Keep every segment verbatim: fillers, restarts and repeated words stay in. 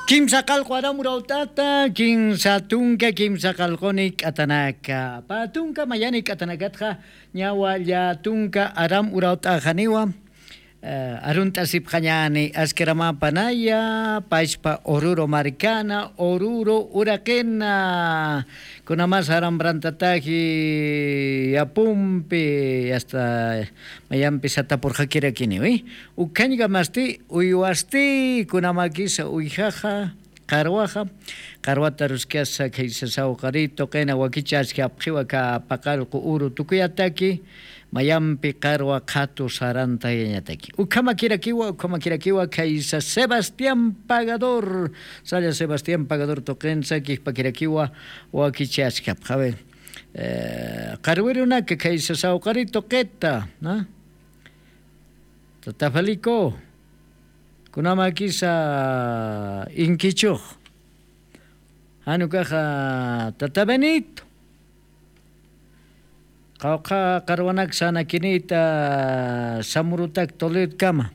Kimsa qalqu aram urawt'ata kimsa tunka kimsa qalquni k'atanaka pä tunka mayani k'atanakatxa ñawa llä tunka aram urawt'axaniwa. Arunt'asipxañani askiramapanaya pachpa ururu markana ururu uraqina. Kunamas arambrantataji yapumpi asta mayampi satapurxakirakiniwi. Ukhañkamasti uywasti kunamakisa uyjaxa qarwaxa qarwata ruskasa khaysa sawqari tuqina wakichaskhapxiwa kha paqallqu uru tukuyataki. Mayampi qarwa qhatu sarantayañataki ukhamakirakiwa ukhamakirakiwa khaysa sebastián pagador. Salla sebastián pagador tuqinsa kijpakirakiwa wakichaskhapxa a ver. Qarwirunaka khaysa sawqari tuqita. Tata felico kunamakisa inkichux. Janukaxa tata benito qawqha qarwanak sanakinita samurutak toledkama.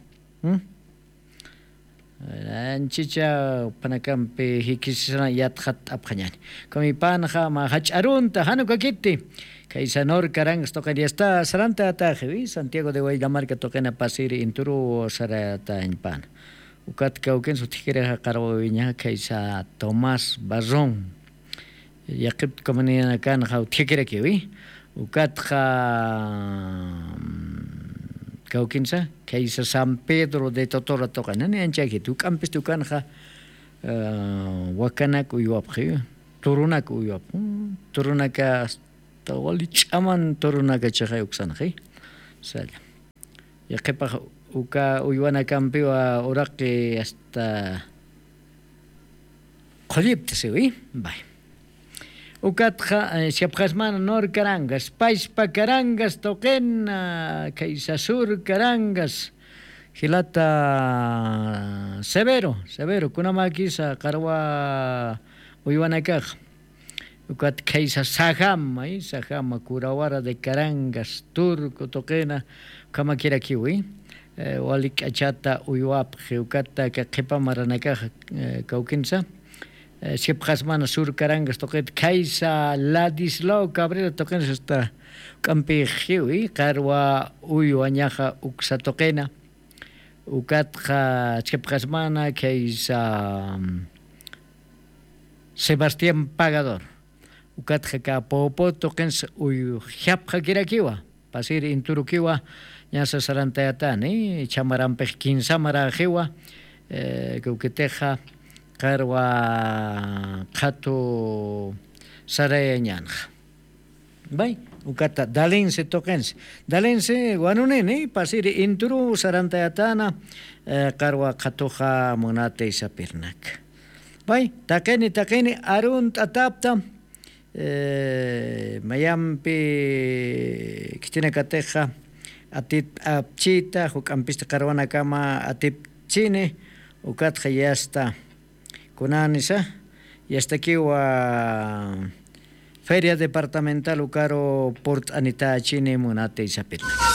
Anchicha panakampi jikisisana yatxat t'apxañani kamipanxa ma jach'arunta janukakiti. Khaysa nor karangas tuqin yasta saranta ataxiwi santiago de waylamarka tuqina pasiri inturu saratañpana. Ukat kawkin sutjikirixa qarwawiña khaysa tomás barrón. Yaqipta comunidanakanxa utjikirakiwi ukatxa kawkinsa khaysa san pedro de totora tuqina ni anchakiti uk'ampisti ukanxa. Wakanak uywapxi turunak uywapxi turunaka asta wali ch'aman turunaka chixay uksanxi. Salla yaqhipax uka uywanakampiwa uraqi asta qhullipta siwi. Bay ukatxa siapxasmana nor karangas pachpa karangas tuqina khaysa sur karangas jilata severo severo kunamakisa qarwa uywanakax. Ukat khaysa sajama sajama kurawara de carangas turco tuqina ukhamakirakiwi. Wali k'achata uywapxi ukata kay qhipa maranakaxa kawkinsa sipxasmana sur carangas tuqita khaysa ladislao cabrera tuqinsa asta uk'ampixiwi qarwa uywañaxa uksa tuqina. Ukatxa chhipxasmana khaysa sebastián pagador. Ukatxa kapopo tuqinsa uyjapxakirakiwa pasir inturukiwa. Ñasa sarantayatani chhamarampix kinsamaraxiwa. Kawkitixa qarwa qhatu sarayañanxa. Bay ukata dalinsi tuqinsi dalinsi wanunini pasiri inturu sarantayatana. Qarwa qhatuxa munati sapirnak bay taqini taqini arunt'atapta. Mayampi khitinakatixa atipt'apchita juk'ampisti qarwanakama atipchini. Ukatxa yasta kunanisa yastakiwa feria departamental ukaru purt'anitachini munati sapirnak.